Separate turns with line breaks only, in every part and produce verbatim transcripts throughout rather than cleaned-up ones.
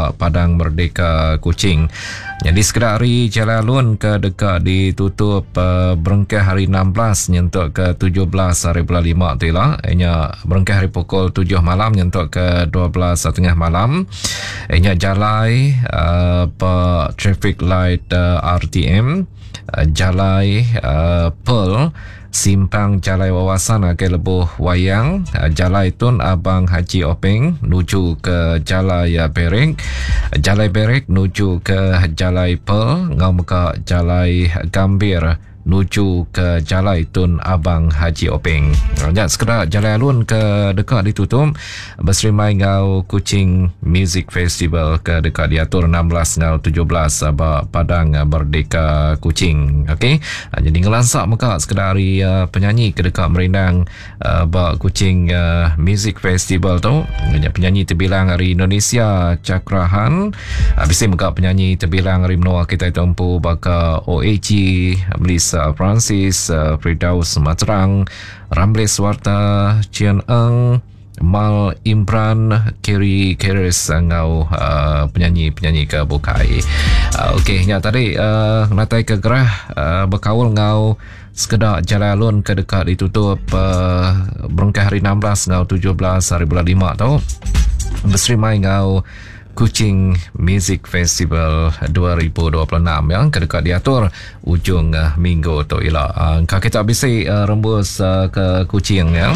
ba Padang Merdeka Kuching. Nyadi sekeda ari jalai alun ke deka ditutup uh, berengkah hari enam belas nyentuk ke tujuh belas hari bulan lima tu ila, nya berengkah hari pukul tujuh malam nyentuk ke dua belas setengah malam. Nya jalai uh, ba traffic light uh, R T M, uh, jalai uh, Pearl, simpang Jalai Wawasan ke Lebuh Wayang, Jalai Tun Abang Haji Openg nuju ke Jalai Berek, Jalai Berek nuju ke Jalai Pearl, ngau mega Jalai Gambir nuju ke Jalai Tun Abang Haji Openg. Nya sekeda jalai alun ke deka ditutup berserimai ngau Kuching Music Festival ke deka diatur enam belas ngau tujuh belas ba Padang Merdeka Kuching. Okey, jadi ngelansak mega sekeda hari penyanyi ke deka merindang ba Kuching Music Festival tu. Nya penyanyi terbilang dari Indonesia Cakrahan, bisi mega penyanyi terbilang dari menua kita tempu baka O A G, Melissa Francis, Firdaus Materang, Ramles Warta, Cian Eng, Mal Imran, Kerry Keres ngau uh, penyanyi-penyanyi ke bukai. Uh, Okey, nya tadi uh, natai ke gerah uh, berkaul ngau sekeda jalai alun ke dekat ditutup uh, berengkah hari enam belas ngau tujuh belas hari bulan lima tu berserimai ngau Kuching Music Festival dua ribu dua puluh enam yang kedekat diatur ujung uh, minggu tu ila. Uh, kita bisi uh, rembus uh, ke Kuching ya.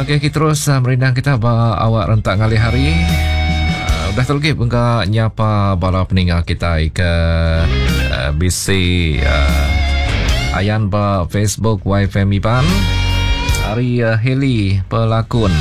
Okey, kita terus uh, merindang kita ba awak rentak ngalih hari. Uh, udah terlegi bengka nyapa bala peninga kita ke uh, bisi uh, ayan ba Facebook Y F M Iban. Hari uh, Heli pelakon.